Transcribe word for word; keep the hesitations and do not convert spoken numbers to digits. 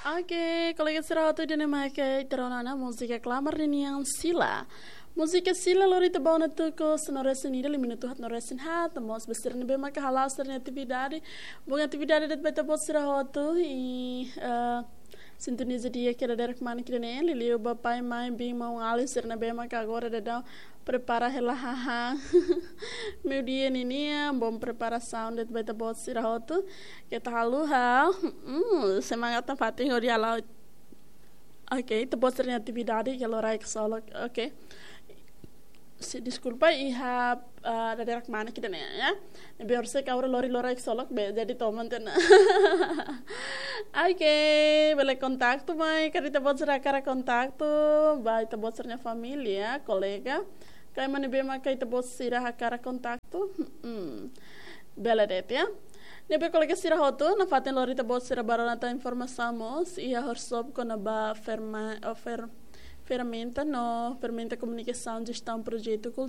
Oke, kolega sira hotu, ida-ne'e mak ita rona ona múzika klamar ninian Sila. Múzika Sila lori ita ba ona tuku sanulu-resin-ida, liu minutu haat-nulu-resin-haat, mós ba sira ne'ebé maka hala'o sira-nia atividade. Bom atividade de'it ba ita-boot sira hotu, i, eh, sintoniza di'ak iha dadeer-manek ida-ne'e, liuliu ba pai, mãe, biin, maun-alin sira ne'ebé maka agora daudaun prepara hela hahán. Meiudia ninian, bom preparasaun de'it ba ita-boot sira hotu. Keta haluha, hmm, semangat nafatin hodi hala'o. Oke, ita-boot sira-nia atividade iha loraik ksolok. Oke. Se, deskulpa, iha, ah, dadeer-manek ida-ne'e, ya. Ne'ebé orsida agora lori loraik ksolok, be, jadi toman tiha ona. Oke, bele kontaktu mai, karik ita-boot sira hakarak kontaktu, ba ita-boot sira-nia família, kolega. Ka ema ne'ebé maka ita-boot sira hakarak kontaktu. Hmm. Bele de'it, ya. Ne'ebé kolega sira hotu, nafatin lori ita-boot sira ba rona tan informasaun mós, iha workshop kona-ba ferma-, o fer-, ferramenta no, ferramenta komunikasaun jestaun projetu kulturál.